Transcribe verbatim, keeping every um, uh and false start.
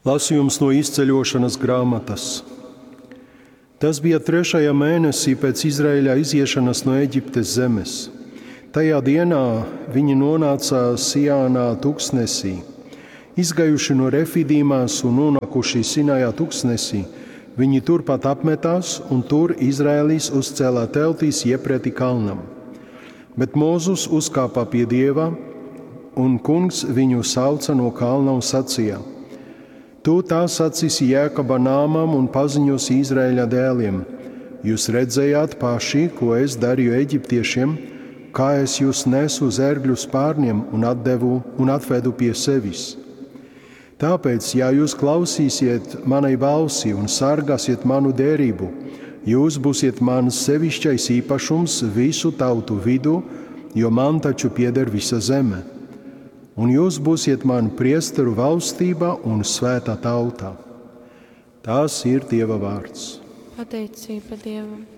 Lasījums no izceļošanas grāmatas. Tas bija trešajā mēnesī pēc Izraēļa iziešanas no Eģiptes zemes. Tajā dienā viņi nonāca Sijānā tuksnesī. Izgājuši no Refidīmās un nonākuši Sinajā tuksnesī, viņi turpat apmetās un tur Izraēlis uzcēlā teltīs iepreti kalnam. Bet Mūzus uzkāpa pie Dieva, un kungs viņu sauca no kalna un sacīja: Tu tā sacīsi Jēkaba nāmam un paziņosi Izraēļa dēliem: Jūs redzējāt paši, ko es darīju eģiptiešiem, kā es jūs nesu uz ērgļu spārniem un atdevu un atvedu pie sevis. Tāpēc, ja jūs klausīsiet manai balsi un sargāsiet manu derību, jūs būsiet mans sevišķais īpašums visu tautu vidū, jo man taču pieder visa zeme. Un jūs būsiet man priesteru valstība un svētā tauta. Tas ir Dieva vārds. Pateicība Dievam!